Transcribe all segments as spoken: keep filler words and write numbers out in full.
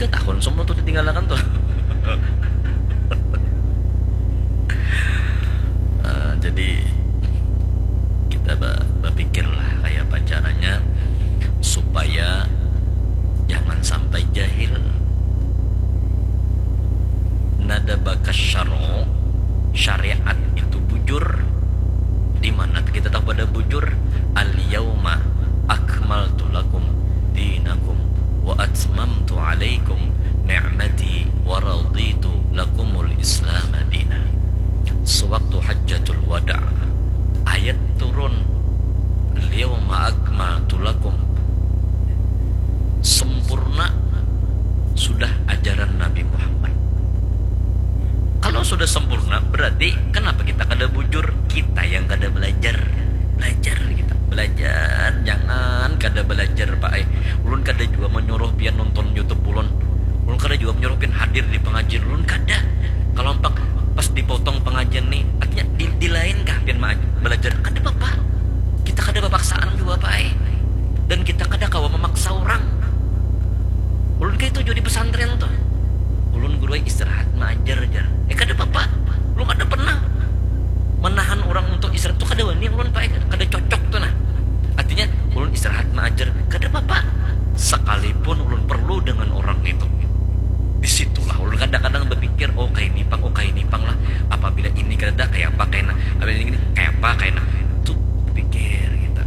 Tahun semua tuh ditinggalakan tuh. Eh, jadi kita ba- berpikirlah kayak apa caranya supaya jangan sampai jahil. Nada bakas syar'u, syariat itu bujur. Di mana kita tahu pada bujur? Al yauma akmaltu lakum dinakum wa atmamtu alaikum ni'mati wa raditu lakumul Islam dina. Sewaktu hajjatul wada, ayat turun, al yauma akmaltu lakum, sempurna sudah ajaran Nabi Muhammad. Kalau sudah sempurna, berarti kenapa kita kada bujur? Kita yang kada belajar. Belajar kita, belajar. Jangan kada belajar, Pak. Eh, ulun kada jua menyuruh pian nonton YouTube ulun. Ulun kada jua menyuruh pian hadir di pengajian ulun, kada. Kalau empak pas dipotong pengajian nih, artinya di, di lain kah pian ma- belajar? Kada apa-apa. Kita kada bapaksaan jua, Pak. Eh. Dan kita kada kawa memaksa orang. Ulun kayak itu jua di pesantren tuh. Ulun guru istirahat maajar jar. Eh, kada apa-apa. Ulun kada pernah menahan orang untuk istirahat tuh, kada wani ulun, Pak. Eh, kada cocok tuh nah. Artinya ulun istirahat maajar, kada apa-apa. Sekalipun ulun perlu dengan orang itu, di situlah ulun kadang-kadang berpikir, oh kayak ini pang, oh kayak ini pang lah. Apabila ini kada, kayak apa kayak nah. Apabila ini kayak apa kayak nah. Itu pikir kita.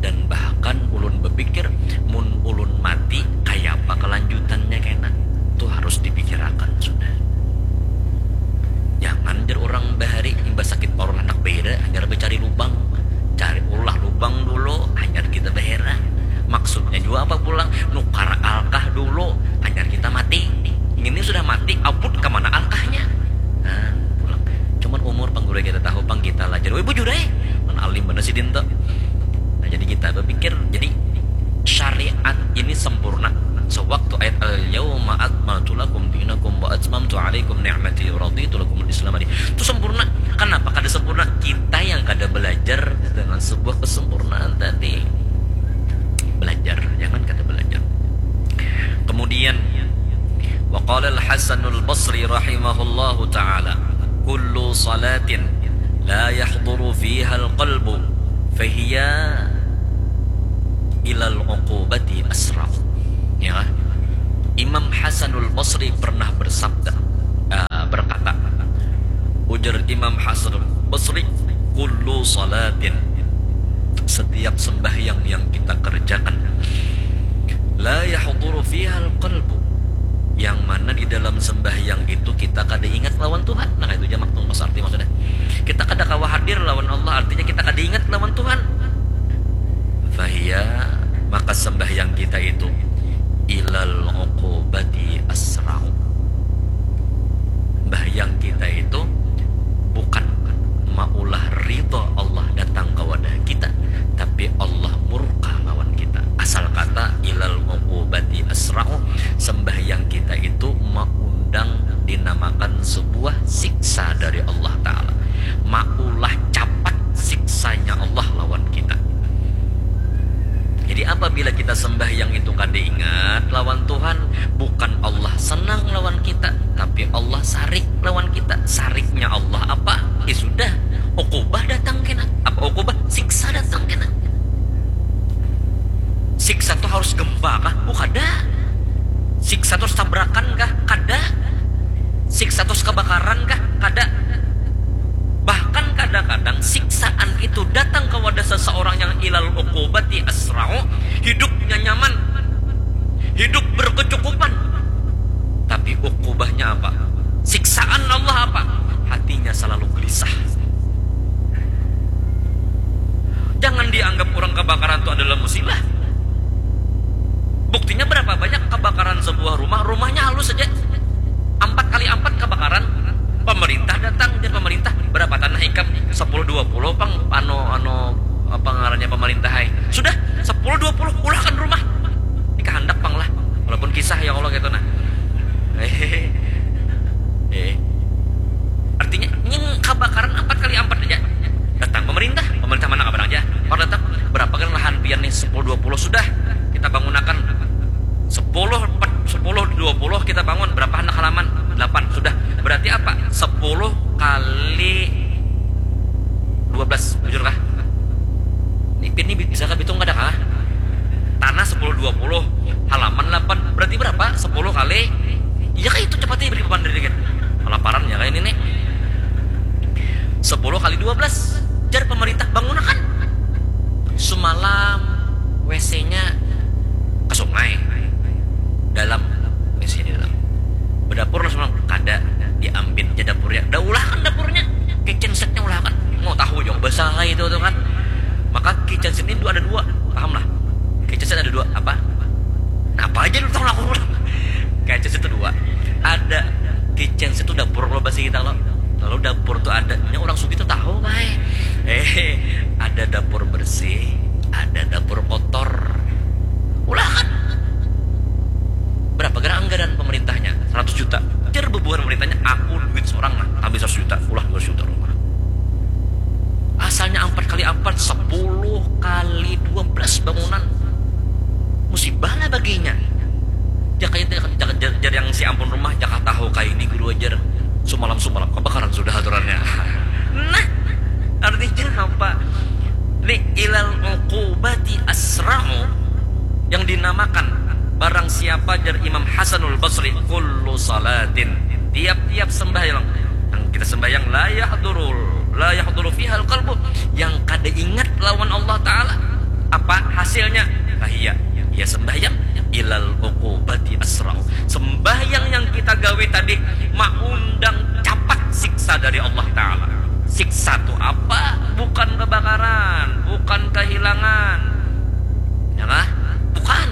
Dan bahkan ulun berpikir, mun ulun mati, kayak apa kelanjutannya kena? Itu harus dipikirakan sudah. Jangan jar orang bahari imbah sakit parut handak bahira, hanyar bercari lubang. Cari ulah lubang dulu, hanyar kita bahira. Maksudnya juga apa pulang? Nukar alkah dulu, hanyar kita mati. Ini sudah mati, abut ke mana alkahnya? Nah, pulang. Cuman umur pang guru kita tahu pang kita lah. Jadi, woi bujur eh. Mana alim bener si Dinto. Nah, jadi kita berpikir, jadi syariat ini sempurna. Sewaktu ayat al yauma akmaltu lakum dinakum wa atmamtu alaikum ni'mati wa raditu lakumul Islam dina. Itu sempurna. Kenapa kada sempurna? Kita yang kada belajar dengan sebuah kesempurnaan tadi. Belajar, jangan kada belajar. Kemudian, wa qala al Hasanul Basri rahimahullahu taala, kullu salatin la yahduru fiha al qalbu fahiya ilal uqubati asra'u. Ya. Imam Hasanul Basri pernah bersabda, eh, berkata, ujar Imam Hasanul Basri, kullu salatin, setiap sembahyang yang kita kerjakan, la yahduru fihal qalbu, yang mana di dalam sembahyang itu kita kada ingat lawan Tuhan. Nah, itu jamak tuh mas arti maksudnya. Kita kada kawa hadir lawan Allah, artinya kita kada ingat lawan Tuhan. Fahiya, maka sembahyang kita itu ilal uqubati asra'u. Sembahyang kita itu bukan maulah ridha Allah datang ke wadah kita, tapi Allah murka lawan kita. Asal kata ilal uqubati asra'u, sembahyang kita itu maundang dinamakan sebuah siksa dari Allah Ta'ala. Maulah capat siksanya Allah lawan kita. Jadi apabila kita sembahyang itu kada ingat lawan Tuhan, bukan Allah senang lawan kita, tapi Allah sarik lawan kita. Sariknya Allah apa? Ya sudah, ukubah datang kena. Apa ukubah? Siksa datang kena. Siksa tuh harus gempa kah? Oh, kada. Siksa tuh harus tabrakan kah? Kada. Siksa tuh harus kebakaran kah? Kada. Bahkan kadang-kadang siksaan itu datang kepada seseorang yang ilal uqubati asra'u, hidupnya nyaman, hidup berkecukupan. Tapi ukubahnya apa? Siksaan Allah apa? Hatinya selalu gelisah. Jangan dianggap orang kebakaran itu adalah musibah. Buktinya berapa banyak kebakaran sebuah rumah, rumahnya halus saja. Empat kali empat kebakaran, pemerintah datang, dia pemerintah, berapa tanah ikam? Sepuluh dua puluh pang, anu, anu, apa ngarannya pemerintah hai. Sudah, sepuluh dua puluh ulahkan rumah. Ini kehendak pang lah. Walaupun kisah ya Allah gitu nah. Eh. Artinya nying kebakaran empat kali empat aja. Datang pemerintah, pemerintah mana kabar aja. Orang datang, berapa kan lahan pian nih? Sepuluh dua puluh sudah kita bangunakan. Sepuluh, empat, sepuluh, dua kita lo. Kalau dapur tuh ada, nya orang sugih tuh tahu, Bay. Eh, ada dapur bersih, ada dapur kotor. Ulah kan? Berapa gerak anggaran pemerintahnya? Seratus juta. Jar bubuhan pemerintahnya, aku duit seorang nah, habis seratus juta, ulah dua ratus juta rumah. Asalnya empat kali empat, sepuluh kali dua belas bangunan. Musibah lah baginya. Jaka itu, jaka, jaka, jar, jar yang si ampun rumah, jaka tahu kayak ini guru ajar. Sumalam-sumalam kebakaran sudah aturannya. Nah, artinya apa? Li ilal uqubati asra'u, yang dinamakan barang siapa, jar Imam Hasanul Basri, kullu salatin, tiap-tiap sembahyang yang kita sembahyang, la yahdurul, la yahduru fihal qalbu, yang kada ingat lawan Allah Ta'ala, apa hasilnya? Fahiya, ya sembahyang, ilal uqubati asra'u. Sembahyang yang kita gawe tadi maundang capat siksa dari Allah Ta'ala. Siksa tu apa? Bukan kebakaran, bukan kehilangan. Ya kah? Bukan.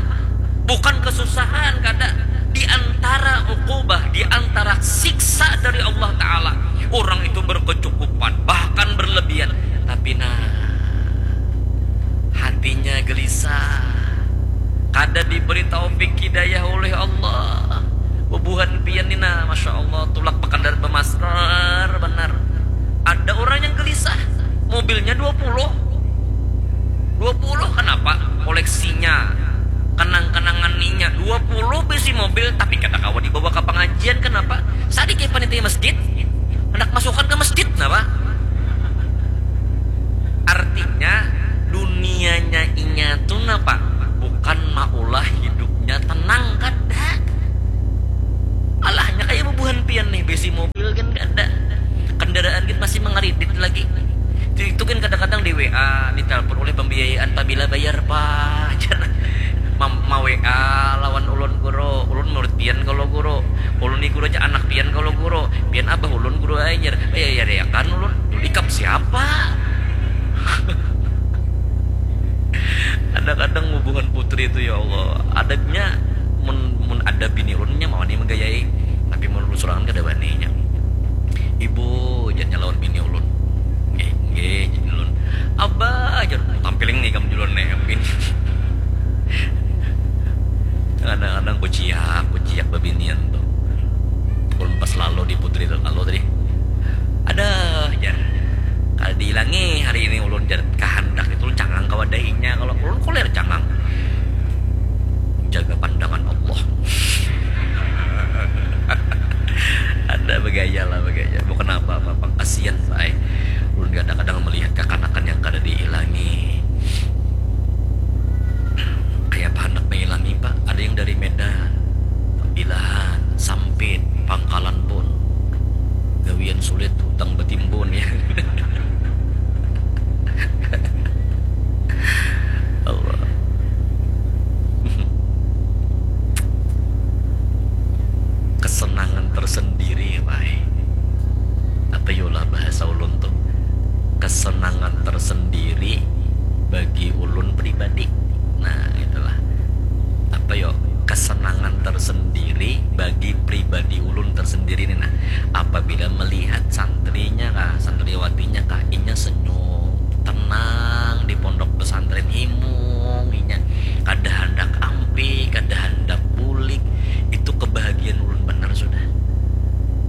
Bukan kesusahan, kada. Di antara uqubah, di antara siksa dari Allah Ta'ala, orang itu berkecukupan, bahkan berlebihan. Tapi nah, hatinya gelisah. Kada diberi taufik hidayah oleh Allah. Bubuhan pian ni nah, Masya Allah, tulak bekandaraan bemasker banar. Ada orang yang gelisah, mobilnya dua puluh. Dua puluh, kenapa? Koleksinya, kenang-kenangan inya. Dua puluh bisi mobil, tapi kada kawa dibawa ka pangajian, kenapa? Sadikit panitia masjid, handak masukan ka masjid, kenapa? Artinya, dunianya inya tu napa? Bukan maulah hidupnya tenang, kada. Alahnya kaya bubuhan pian nih, bisi mobil gin kada. Kendaraan gin masih mangaridit lagi. Itu, itu gin kadang-kadang di W A, ditelepon oleh pembiayaan, pabila bayar, Pak, jar. Ma, ma W A lawan ulun, Guru. Ulun murid pian kalo, Guru. Ulun ni, Guru, aja anak pian kalo, Guru. Pian abah ulun, Guru, ai, jar. Bayar-bayarkan ulun. Dulu ikam siapa? Kadang-kadang bubuhan putri tu, ya Allah, adabnya, mun, mun ada bini ulun, nya mau ni manggayai, tapi mun ulun sorangan kada wani nya. Ibu, jarnya lawan bini ulun. Nggih, nggih, jar ulun. Abah, jar, tampiling nih kam dulu nih, bini. Kadang-kadang kuciak, kuciak babinian tu. Ulun pas lalu di putri tu lalu tadi. Ada, jar. Kada diilangi hari ini ulun, jar, kahandak itu ulun cangang ka wadahinya, kalau ulun kulir cangang. Jaga pandangan Allah. Ada bagaya lah, bagaya. Bukan apa-apa, pang kasian, Pak, ai. Ulun kadang-kadang melihat kakanakan yang kada diilangi. Kaya apa handak mailangi, Pak? Ada yang dari Medan, Pilahan, Sampit, Pangkalan pun. Gawian sulit, hutang batimbun, ya. Allah. Kesenangan tersendiri, Pak, ai. Apa yo lah bahasa ulun tuh? Kesenangan tersendiri bagi ulun pribadi. Nah, itulah. Apa yo? Kesenangan tersendiri bagi pribadi ulun tersendiri nih, nah. Apabila melihat santrinya kah, santriwatinya kah, inya senyum, tenang di pondok pesantren, himung inya, kada handak ampih, kada handak bulik, itu kebahagiaan ulun banar sudah.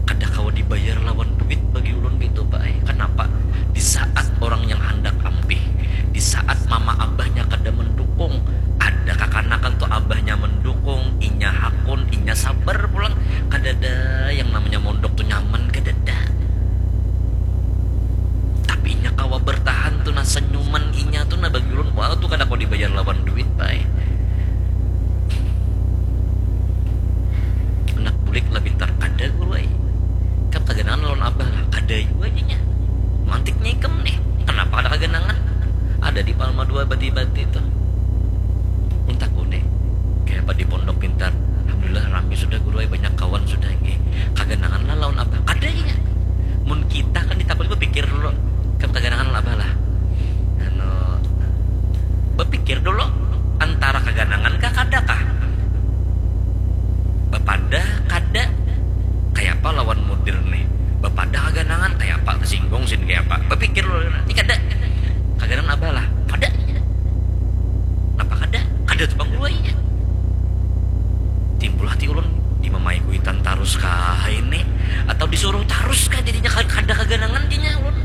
Kada kawa dibayar lawan duit bagi ulun gitu, Pak, ai. Kenapa? Di saat orang yang handak ampih, di saat mama abahnya kada mendukung, ada kakanakan tu abahnya mendukung, inya hakun, inya sabar pulang. Kadada yang namanya mondok tu nyaman, kadada. Tapi inya kawa bertahan tu nah, senyuman inya tu nah bagi ulun, wah, tu kada kawa dibayar lawan duit, Pak, ai. Anak bulik lah pintar, kada, Guru, ai. Kam kaganangan lawan abah lah, kada jua inya. Mantiknya ikam nih, kenapa ada kaganangan? Ada di Palma dua bati-bati tuh. Ulun takuni, kayapa di pondok pintar? Alhamdulillah rami sudah, Guru, ai, banyak kawan sudah, nggih. Kaganangan lah lawan abah? Kada inya. Mun kita kan ditakuni, bapikir dulu. Kam kaganangan lawan abah lah? Anu, bapikir dulu, antara kaganangan kah, kada kah? Bapadah kada? Kayapa lawan mudir nih? Bap-, Terus kah jadinya kada kaganangan jadinya ulun.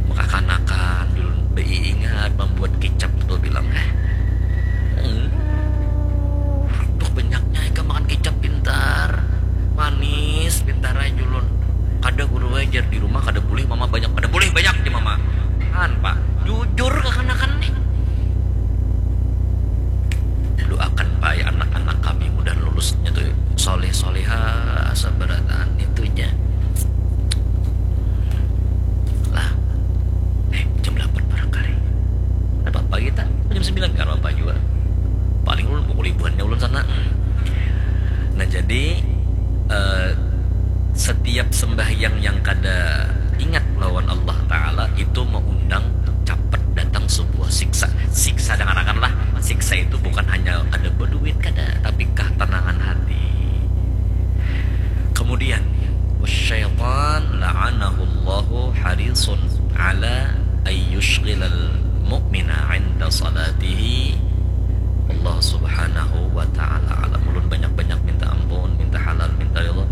Maka kanakan dulu beingat membuat kicap tuh bilang eh. Hmm. Tuh banyaknya ikan makan kicap pintar. Manis pintar aja ulun. Kada guru ajar di rumah kada boleh mama banyak pada boleh banyak di mama. Kan pak jujur kekanakan nih. Doakan pak ya anak-anak kami mudah lulusnya tuh soleh soleha sabarataan itunya. Lah eh jam delapan barangkali ada apa kita jam sembilan kan apa juga. Paling ulun pukul ibuannya ulun sana. Nah jadi eh, setiap sembahyang yang kada ingat lawan Allah Ta'ala itu mengundang capet datang sebuah siksa. Siksa dengarkanlah, siksa itu bukan hanya kada berduit kada, tapi ketenangan hati. Kemudian, syaitan la'anahullahu harisun ala ayyushghilal mu'mina inda salatihi. Allah subhanahu wa ta'ala alam. Ulun banyak-banyak minta ampun, minta halal, minta ridho.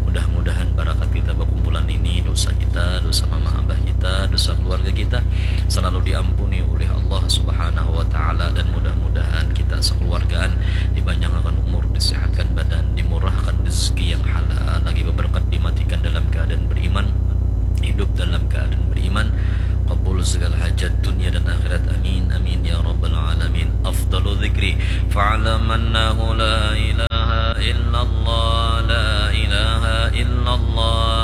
Mudah-mudahan barakat kita berkumpulan ini, dosa kita, dosa mama abah kita, dosa keluarga kita selalu diampuni oleh Allah subhanahu wa ta'ala dan mudah-mudahan kita sekeluargaan dipanjangakan umur, disehatkan badan, dimurahkan rezeki yang halal, lagi berkat dimatikan dalam keadaan beriman, hidup dalam keadaan beriman, kabul segala hajat dunia dan akhirat. Amin amin ya rabbal alamin. Afdalu dzikri fa'lam annahu la ilaha illallah, la ilaha illallah,